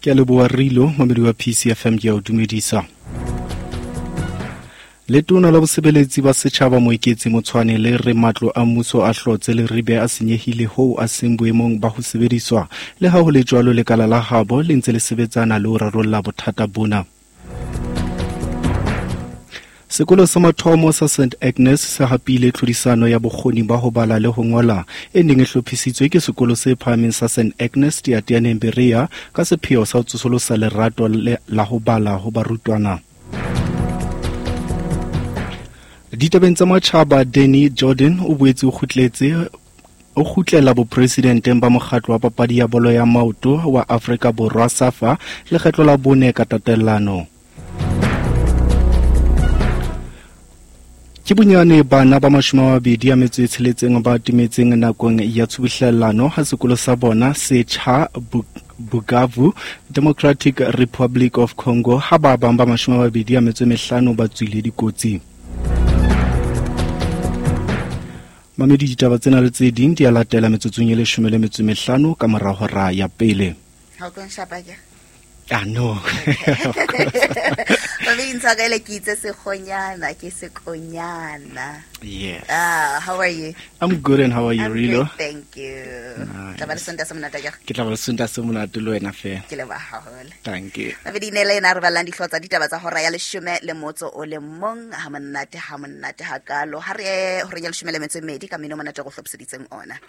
Ke a leboha Rilo, mamedi wa PCFM ke a o dumedisa. Letona la bosebeletsi ba setjhaba Moeketsi Motshwane le re matlo a mmuso a hlotse le ribe a senyehile hoo a seng boemong ba ho sebediswa. Le ha ho le jwalo, lekala la habo le ntse le sebetsana le ho rarolla bothata bona. Sekolo sa mathomo sa St Agnes se hapile tlhodisano ya bokgoni ba ho bala le ho ngola e neng e hlophisitswe ke sekolo se phahameng sa St Agnes Teateaneng Berea ka sepheo sa ho tsosolosa lerato la ho bala ho barutwana. Ditabeng tsa matjhaba, Danny Jordan o boetse o kgutletse o kgutlela bopresidenteng ba mokgatlo wa papadi ya bolo ya maoto wa Afrika Borwa SAFA lekgetlo la bone ka tatellano. Ke bonyane bana ba 26 ba timetseng nakong ya tshubuhlellano ha sekolo sa bona se tjha Bukavu, Democratic Republic of Congo, ha ba bang ba 25 ba tswile dikotsi. Mamedi, ditaba tsena le tse ding di a latela metsotsong e 15 ka mora hora ya pele. Ha o tlo nshapa ke? Ah, no. Mamedi, ntshwarele ke itse sekgonyana, ke sekonyana. Yes. Ah, how are you? I'm good, and how are you, I'm Rilo? Great, thank you. Nice. Tla ba le Sontaha se monate akere? Ke tla ba le Sontaha se monate le wena fela. Ke leboha haholo. Thank you. Mamedi, ne le ena re ballang dihlooho tsa ditaba tsa hora ya 11 ha monate, ha monate hakalo. Ha re ye horeng ya 12 ka mmino monate go hlophiseditseng ona.